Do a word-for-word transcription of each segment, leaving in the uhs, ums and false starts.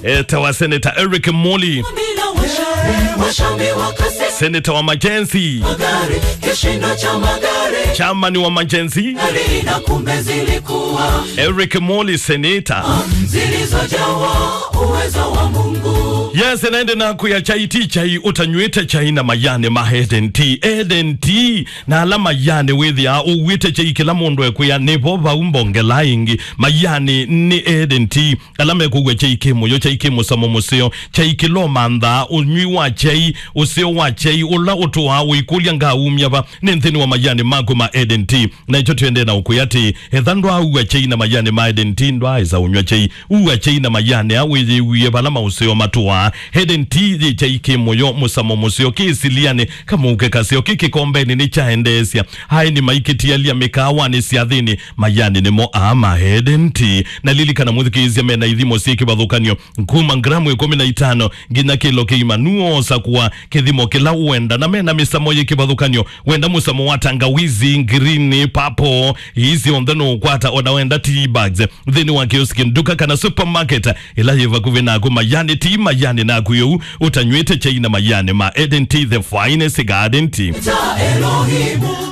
Etawa Senator Eric Moli. Bila washa-, washambi wakase- Senator wa Majenzi. Magari, kishindo cha magari. Chairman wa Majenzi. Gari na kumbe zilikuwa Eric Moli, Senator. Zilizojawa uwezo wa Mungu. Yes, naende naku ya chai ti chai, ũtanywĩte chai na mayani ma Eden Tea. Eden Tea, na ala mayani wĩthĩaa ũw'ĩte chai kĩla mũndũ ekwĩa, nĩvo vau mbongela ĩngĩ. Mayani nĩ Eden Tea. Ala mekũw'a chai kĩ mũyo, chai kĩ mũsamo mũseo, chai kĩlomanthaa, ũnyw'i wa chai, ũseo wa chai, ũla ũtũaa ũikũlya ngaumya va, nĩ nthĩnĩ wa mayani maku ma Eden Tea. Na ĩkyo twĩendee na ũkwĩa atĩ, etha ndwaaua chai na mayani ma Eden Tea, ndwaaĩsa ũnyw'a chai. Ua chai na mayani aa wĩyĩw'ĩe vala maũseo matũaa. Eden Tea yĩ chai kĩ mũyo, mũsamo mũseo, kĩ silianĩ, kamũuke kaseo, kĩ kĩkombenĩ nĩ kyaendeesya. Aeni maikĩtialya mĩkaawanĩ, syathĩnĩ, mayani nĩmo aa ma Eden Tea. Na lilikana, mũthikĩĩsya, mena ithimo syĩ kĩvathũkany'o kuma ngramu ĩkũmi na itano nginya kĩlo kĩima. Nũoosa kũa kĩthimo kĩla ũenda, na mena mĩsamo yĩ kĩvathũkany'o. Wenda mũsamo wa tangawizi, ngirini, papo, ii syonthe nũũkwata, o na wenda tea bags nthĩnĩ wa kioski, nduka, kana supermarket ĩla yĩ vakuvĩ naku. Mayani ti mayani naku yũu, ũtanyw'ĩte chai na mayani ma Eden Tea, the finest garden tea.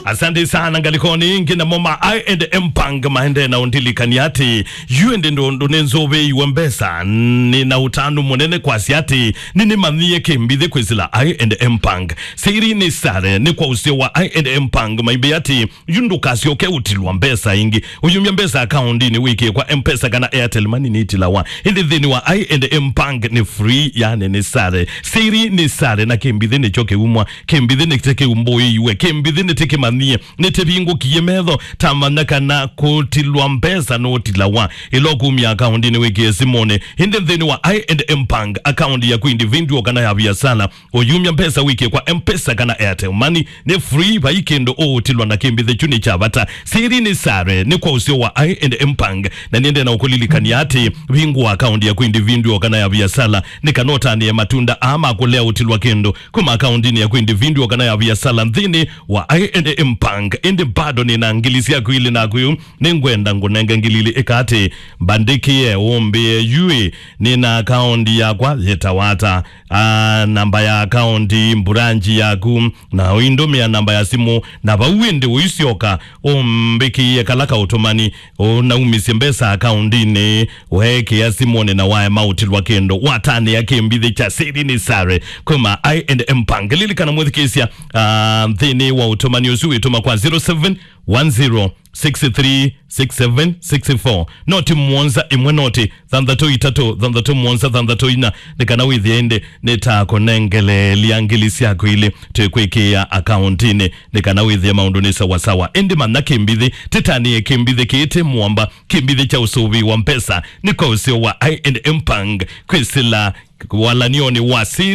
Asante sana. Ngalikoni ĩngĩ, namo ma I and M Bank maendee na ũndilikania atĩ, yu ĩndĩ ndũndũ nĩnzũvĩiwe mbesa, nĩ na ũtanu mũnene kwasya atĩ nĩnĩmanyie kĩmbithĩ kwĩsĩla I and M Bank. Siri nĩ sare, nĩ kwa ũseo wa I and M Bank maimbĩ atĩ, yu ndũkasyoke ũtilwa mbesa ĩngĩ. Ũyumya mbesa akaundinĩ wĩkĩe kwa M-Pesa kana Airtel Money nĩitilawa. Ĩndĩ nthĩnĩ wa I and M Bank nĩ free, yani nĩ sare. Siri nĩ sare, na kĩmbithĩ nĩkyo kĩumwa. Kĩmbithĩ nĩte kĩumbũĩiwe. Kĩmbithĩ nĩte kĩmanyie. Nĩte vingũkie metho. Tamanya kana kũtilwa mbesa nũtilawa. Ĩla ũkumya akaundinĩ wĩkĩe simũnĩ. Ĩndĩ nthĩnĩ wa I and M Bank, akaundi yaku individual kana ya biasala, ũyumya mbesa wĩkĩe kwa M-Pesa kana Airtel Money nĩ free, vai kĩndũ ũũtilwa na kĩmbithĩ kyu nĩ kya vata. Siri nĩ sare, nĩ kwa ũseo wa I and M Bank, na nĩendee na ũkũlilikania atĩ vingũa akaunti yaku individual kana ya viasala nĩ kana ũtanĩe matunda aa ma kũlea ũtilwa kĩndũ kuma akauntinĩ yaku individual kana ya viasala nthĩnĩ wa I and M Bank. Ĩndĩ bado nĩ na ngili syaku ilĩ naku yu, nĩngwenda ngũnenge ngili ilĩ, ĩka atĩ mbandĩkĩe ũmbĩe yu ĩ, nĩ na akaunti yakwa yĩtawa ata? Ah, namba ya akaunti, mburanji yaku, na ũindũmĩa namba ya simũ, na vau ĩndĩ ũisyoka ũmbĩkĩĩe kala kaũtũmani, ũnaumisye mbesa akaundinĩ, weekĩa simũnĩ na waema ũtilwa kĩndũ, watanĩa kĩmbithĩ kya Siri nĩ Sare kuma I and M Bank. Lilikana mwĩthukĩĩsya, ah, nthĩnĩ wa ũtũmani ũsu wĩtũma kwa zero seven one zero six three six seven six four. Noti mũonza ĩmwe noti thanthatũ itatũ thanthatũ mũonza thanthatũ ina, nĩ kana wĩthĩe ĩndĩ nĩtakũnengeleelya ngili syaku ilĩ twĩkwĩkĩĩa akaũntinĩ, nĩ kana wĩthĩe maũndũ nĩ sawasawa. Ĩndĩ manya kĩmbithĩ, tĩtanĩe kĩmbithĩ kĩĩ tĩ mũamba, kĩmbithĩ kya ũsũvĩi wa mbesa, nĩ kwa ũseo wa I and M Bank kwĩsĩla walany'onĩ wa Siri